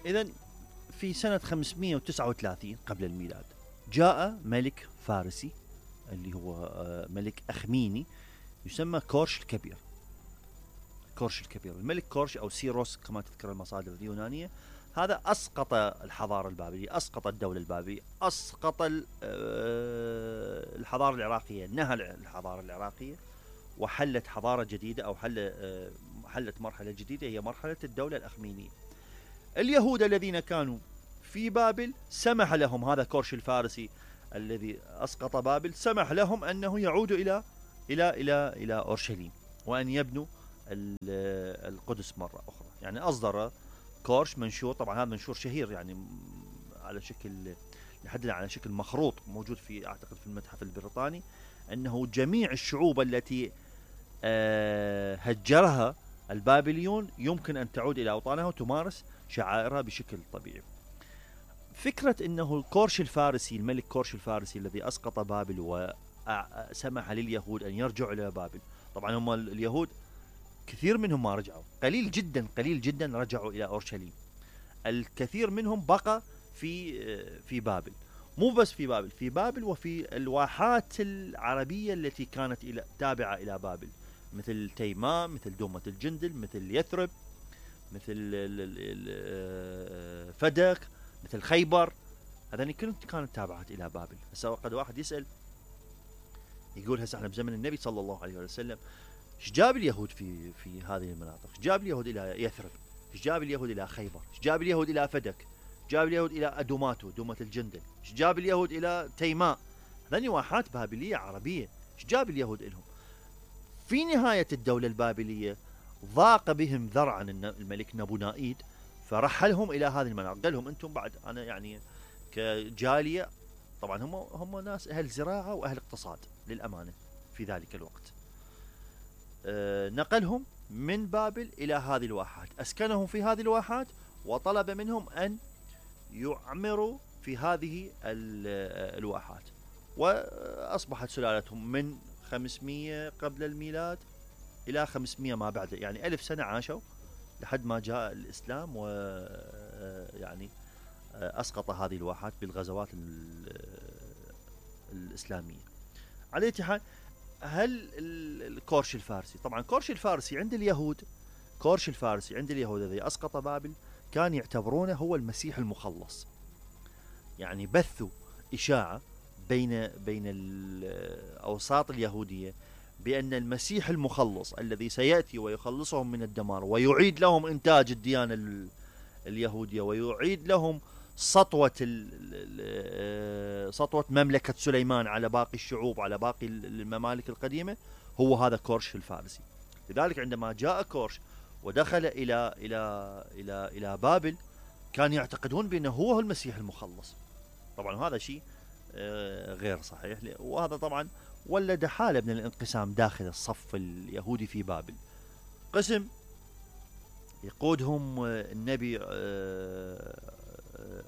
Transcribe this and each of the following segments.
إذن في سنة 539 قبل الميلاد جاء ملك فارسي اللي هو ملك أخميني يسمى كورش الكبير. كورش الكبير، الملك كورش أو سيروس كما تذكر المصادر اليونانية، هذا أسقط الحضارة البابلية، أسقط الدولة البابلية، أسقط الحضارة العراقية، نهى الحضارة العراقية وحلت حضارة جديدة أو حلت مرحلة جديدة هي مرحلة الدولة الأخمينية. اليهود الذين كانوا في بابل سمح لهم هذا كورش الفارسي الذي أسقط بابل، سمح لهم أنه يعودوا إلى أورشليم وأن يبنوا القدس مرة أخرى. يعني أصدر كورش منشور، طبعا هذا منشور شهير يعني على شكل لحد على شكل مخروط موجود في أعتقد في المتحف البريطاني، أنه جميع الشعوب التي هجرها البابليون يمكن أن تعود إلى أوطانها وتمارس شعائرها بشكل طبيعي. فكرة أنه الكورش الفارسي، الملك كورش الفارسي الذي أسقط بابل وسمح لليهود أن يرجعوا إلى بابل، طبعا هم اليهود كثير منهم ما رجعوا، قليل جدا رجعوا إلى أورشليم، الكثير منهم بقى في بابل. مو بس في بابل وفي الواحات العربية التي كانت تابعة إلى بابل، مثل تيماء، مثل دومة الجندل، مثل يثرب، مثل فدك، مثل خيبر، هذين كانت تابعات إلى بابل. هسه قد واحد يسأل يقول هسه احنا بزمن النبي صلى الله عليه وسلم ايش جاب اليهود في هذه المناطق؟ ايش جاب اليهود إلى يثرب؟ ايش جاب اليهود إلى خيبر؟ ايش جاب اليهود إلى فدك؟ جاب اليهود إلى أدوماتو دومة الجندل؟ ايش جاب اليهود إلى تيماء؟ هذين واحات بابلية عربية، ايش جاب اليهود إلهم؟ في نهاية الدولة البابلية ضاق بهم ذرعا الملك نبونائيد، فرحلهم إلى هذه المناطق، قال لهم أنتم بعد أنا يعني كجالية، طبعا هم ناس أهل زراعة وأهل اقتصاد للأمانة في ذلك الوقت، نقلهم من بابل إلى هذه الواحات، أسكنهم في هذه الواحات وطلب منهم أن يعمروا في هذه الواحات، وأصبحت سلالتهم من 500 قبل الميلاد إلى 500 ما بعد، يعني 1000 سنة عاشوا لحد ما جاء الإسلام ويعني أسقط هذه الواحات بالغزوات الإسلامية. على أي حال، هل الكورش الفارسي، طبعا كورش الفارسي عند اليهود، كورش الفارسي عند اليهود الذي أسقط بابل كان يعتبرونه هو المسيح المخلص، يعني بثوا إشاعة بين الأوساط اليهودية بأن المسيح المخلص الذي سيأتي ويخلصهم من الدمار ويعيد لهم إنتاج الديانة اليهودية ويعيد لهم سطوة مملكة سليمان على باقي الشعوب، على باقي الممالك القديمة، هو هذا كورش الفارسي. لذلك عندما جاء كورش ودخل إلى بابل كانوا يعتقدون بأنه هو المسيح المخلص. طبعا هذا شيء غير صحيح، وهذا طبعا ولد حالة من الانقسام داخل الصف اليهودي في بابل. قسم يقودهم النبي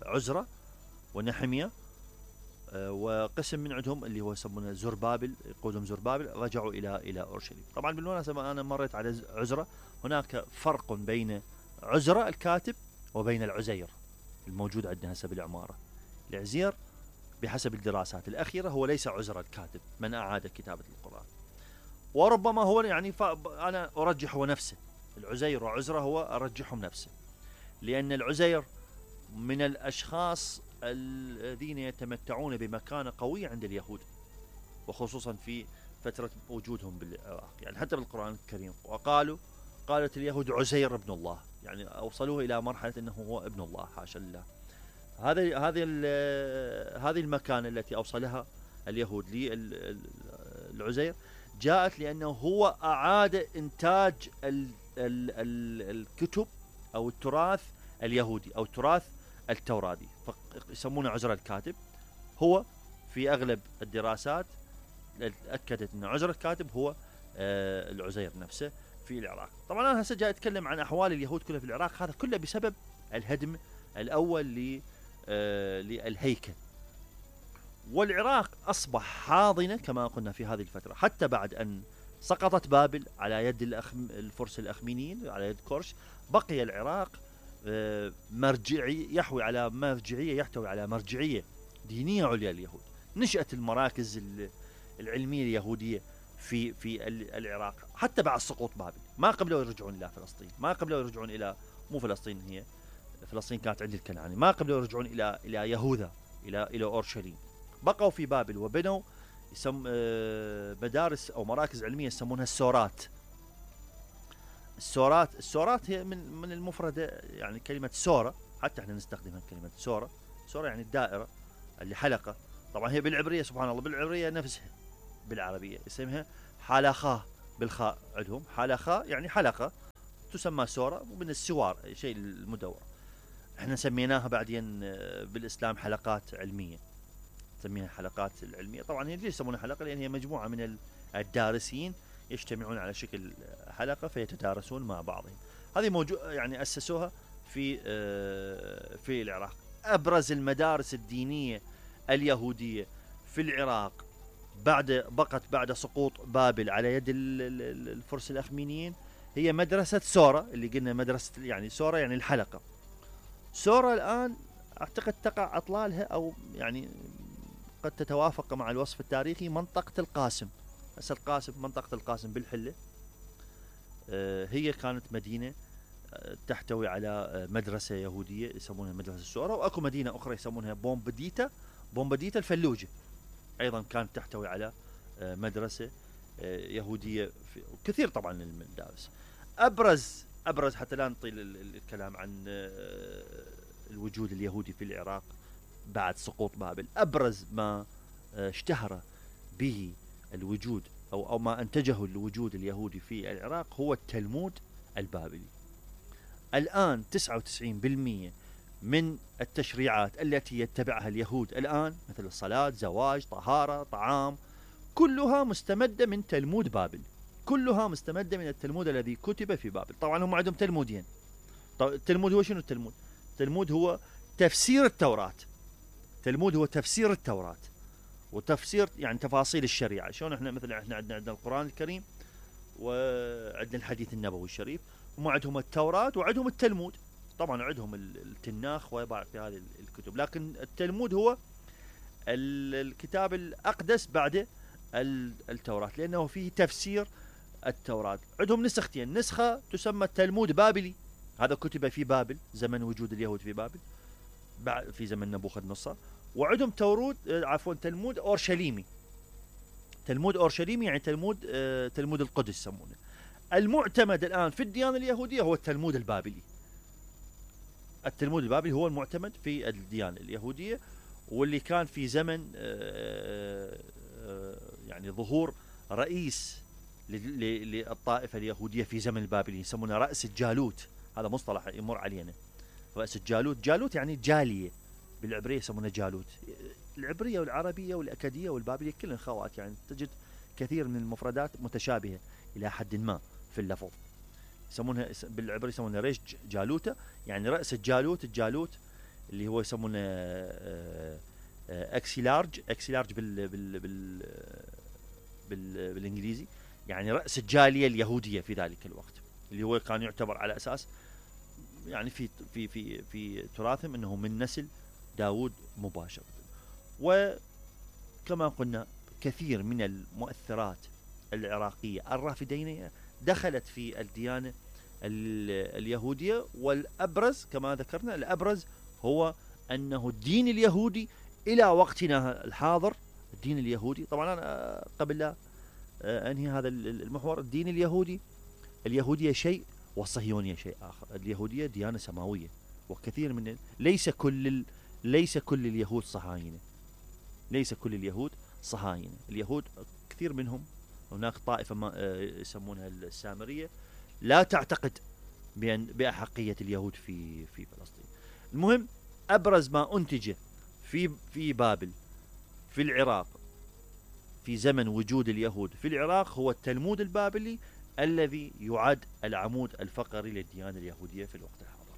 عزرا ونحمية، وقسم من عندهم اللي هو يسمونه زربابل، يقودهم زربابل، رجعوا إلى أورشليم. طبعا بالمناسبة أنا مريت على عزرا، هناك فرق بين عزرا الكاتب وبين العزير الموجود عندنا هسه بالعمارة. العزير بحسب الدراسات الأخيرة هو ليس عزرا الكاتب من أعاد كتابة القرآن، وربما هو يعني أنا أرجح هو نفسه، العزير وعزرا هو أرجحهم نفسه، لأن العزير من الأشخاص الذين يتمتعون بمكانة قوية عند اليهود، وخصوصا في فترة وجودهم بالعراق، يعني حتى بالقرآن الكريم قالت اليهود عزير ابن الله، يعني أوصلوه إلى مرحلة أنه هو ابن الله، حاشا لله. هذه المكانة التي أوصلها اليهود للعزير جاءت لأنه هو أعاد إنتاج الكتب أو التراث اليهودي أو التراث التوراتي، فيسمونه عزرا الكاتب. هو في أغلب الدراسات أكدت أن عزرا الكاتب هو العزير نفسه في العراق. طبعا أنا هسه جاي أتكلم عن أحوال اليهود كلها في العراق، هذا كله بسبب الهدم الأول للهيكل، والعراق أصبح حاضنة كما قلنا في هذه الفترة، حتى بعد أن سقطت بابل على يد الفرس الأخمينيين على يد كورش، بقي العراق يحوي على مرجعية، يحتوي على مرجعية دينية عليا لليهود. نشأت المراكز العلمية اليهودية في العراق حتى بعد سقوط بابل. ما قبلوا يرجعون إلى فلسطين، ما قبلوا يرجعون إلى، مو فلسطين، هي فلسطين كانت عند الكنعاني، ما قبلوا يرجعون إلى يهوذا، إلى أورشليم. بقوا في بابل وبنوا مدارس أو مراكز علمية يسمونها السورات. السورات هي من المفردة، يعني كلمة سورة، حتى احنا نستخدمها كلمة سورة. سورة يعني الدائرة اللي حلقة. طبعا هي بالعبرية سبحان الله، بالعبرية نفسها بالعربية اسمها حلقة بالخاء، عندهم حلقة يعني حلقة، تسمى سورة، ومن السوار شيء المدور. احنا سميناها بعدين بالإسلام حلقات علمية، نسميها حلقات العلمية. طبعا هي ليش يسمونها حلقة؟ لأن هي مجموعة من الدارسين يجتمعون على شكل حلقة فيتدارسون مع بعضهم. هذه موجود يعني أسسوها في العراق. أبرز المدارس الدينية اليهودية في العراق بقت بعد سقوط بابل على يد الفرس الأخمينيين هي مدرسة سورة، اللي قلنا مدرسة يعني سورة يعني الحلقة. سورة الآن أعتقد تقع أطلالها أو يعني قد تتوافق مع الوصف التاريخي منطقة القاسم. هسه القاسم، منطقة القاسم بالحلة، هي كانت مدينة تحتوي على مدرسة يهودية يسمونها مدرسة سورة، وأكو مدينة أخرى يسمونها بومبديتا الفلوجة، أيضا كانت تحتوي على مدرسة يهودية. كثير طبعا المدارس. أبرز حتى لا نطيل الكلام عن الوجود اليهودي في العراق بعد سقوط بابل، أبرز ما اشتهر به الوجود أو ما أنتجه الوجود اليهودي في العراق هو التلمود البابلي. الآن 99% من التشريعات التي يتبعها اليهود الآن، مثل الصلاة، زواج، طهارة، طعام، كلها مستمدة من تلمود بابل، كلها مستمدة من التلمود الذي كتب في بابل. طبعا هم عندهم تلمودين. التلمود هو شنو؟ التلمود هو تفسير التوراة. التلمود هو تفسير التوراة وتفسير يعني تفاصيل الشريعة. شلون احنا مثلا احنا عندنا القرآن الكريم وعندنا الحديث النبوي الشريف، هم عندهم التوراة وعندهم التلمود. طبعا عندهم التناخ وباقي هذه الكتب، لكن التلمود هو الكتاب الأقدس بعد التوراة، لأنه فيه تفسير التوراة. عندهم نسختين، نسخة تسمى التلمود بابلي، هذا كتب في بابل زمن وجود اليهود في بابل في زمن نبوخذ نصر. وعندهم تلمود أورشليمي. تلمود أورشليمي يعني تلمود القدس يسمونه. المعتمد الآن في الديانة اليهودية هو التلمود البابلي. التلمود البابلي هو المعتمد في الديانة اليهودية، واللي كان في زمن يعني ظهور رئيس للطائفة اليهودية في زمن البابلي يسمونه رأس الجالوت. هذا مصطلح يمر علينا، رأس الجالوت. جالوت يعني جالية، بالعبرية يسمونه جالوت. العبرية والعربية والأكادية والبابلية كلها خوات، يعني تجد كثير من المفردات متشابهة إلى حد ما في اللفظ. يسمونها بالعبرية يسمونها ريش جالوتة، يعني رأس الجالوت. الجالوت اللي هو يسمونه اكسيلارج بالانجليزي، يعني رأس الجالية اليهودية في ذلك الوقت، اللي هو كان يعتبر على أساس يعني في تراثهم أنه من نسل داود مباشرة. وكما قلنا كثير من المؤثرات العراقية الرافدينية دخلت في الديانة اليهودية. والأبرز كما ذكرنا، الأبرز هو أنه الدين اليهودي إلى وقتنا الحاضر، الدين اليهودي طبعا أنا قبل لا أنهي هذا المحور، الدين اليهودية شيء والصهيونية شيء آخر. اليهودية ديانة سماوية، وكثير من ليس كل اليهود صهاينة، ليس كل اليهود صهاينة. اليهود كثير منهم، هناك طائفة ما يسمونها السامرية لا تعتقد بأحقية اليهود في فلسطين. المهم أبرز ما أنتج في بابل في العراق في زمن وجود اليهود في العراق هو التلمود البابلي، الذي يعد العمود الفقري للديانة اليهودية في الوقت الحاضر.